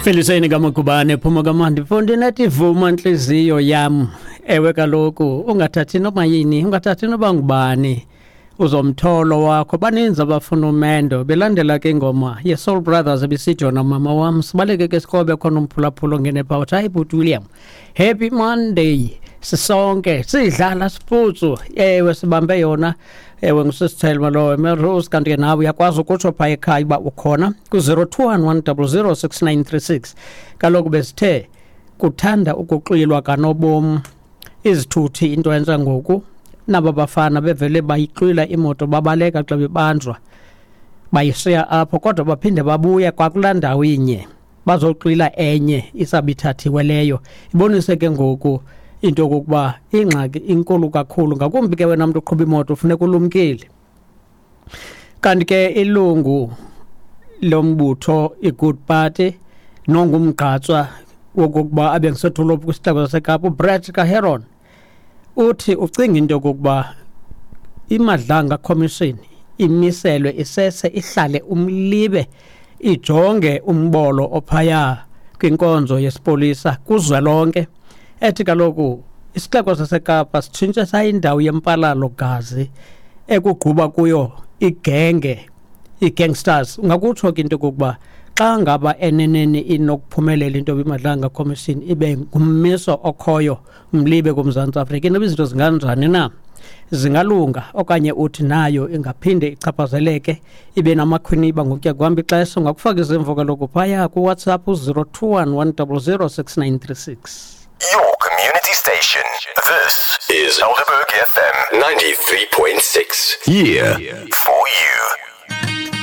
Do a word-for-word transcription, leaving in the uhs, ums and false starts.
Feliseni kaMagubane phuma kamandi mfondini ethi vuma ntliziyo yam. Ewe kaloku ungathathi noba yini, ungathathi noba ngubani uzomtholo wakho. Baninzi abafuna umendo belandela ke ingoma ye-Soul Brothers ebisithi yona mama wam. Sibaleke ke sikrobe khona umphulaphula ongene phaa uthi hayi bhuti William, happy Monday, sisonke sidlala sifutsu. Ewe sibambe yona, ewe ngusisithelma lowo Melrose. Kanti ke nawe uyakwazi ukutsho phaa ekhaya uba ukhona ku-zero two one one double zero six nine three six. Kaloku besithe kuthanda ukuxwilwa kanobom izithuthi into entsha ngoku, naba bafana bevele bayixwila imoto babaleka xa bebanjwa bayishiya apho, kodwa baphinde babuya kwakulaa ndawo inye bazoxwila enye isabithathiwe leyo. Ibonise ke ngoku into yokokuba ingxaki inkulu kakhulu, ngakumbi ke wena mntu uqhuba imoto funeka ulumkile. Kanti ke ilungu lombutho iGood Party nongumgqatswa wokokuba abe ngusothulophu kwisixeko saseKapa uBrett Kaheron uthi ucinga into yokokuba iMadlanga Commission imiselwe isese ihlale umlibe ijonge umbolo ophaya kwinkonzo yesipolisa kuzwelonke. Ethi kaloku isixeko saseKapa sitshintshe sayindawo yempalalo gazi ekugquba kuyo igenge, ii-gangsters. Ungakutsho ke into yokokuba xa ngaba eneneni inokuphumelela into yoba iMadlanga Commission ibe ngummiso okhoyo umlibe kuMzantsi Afrika, inoba izinto zinganjani na, zingalunga okanye uthi nayo ingaphinde ichaphazeleke ibe namakhwiniba ngokuya kuhamba ixesha. Ungakufaka izimvo kaloku phaya kuWhatsApp u-zero two one one double zero six nine three six. Your community station. This is Helderberg F M ninety-three point six. Yeah. For you.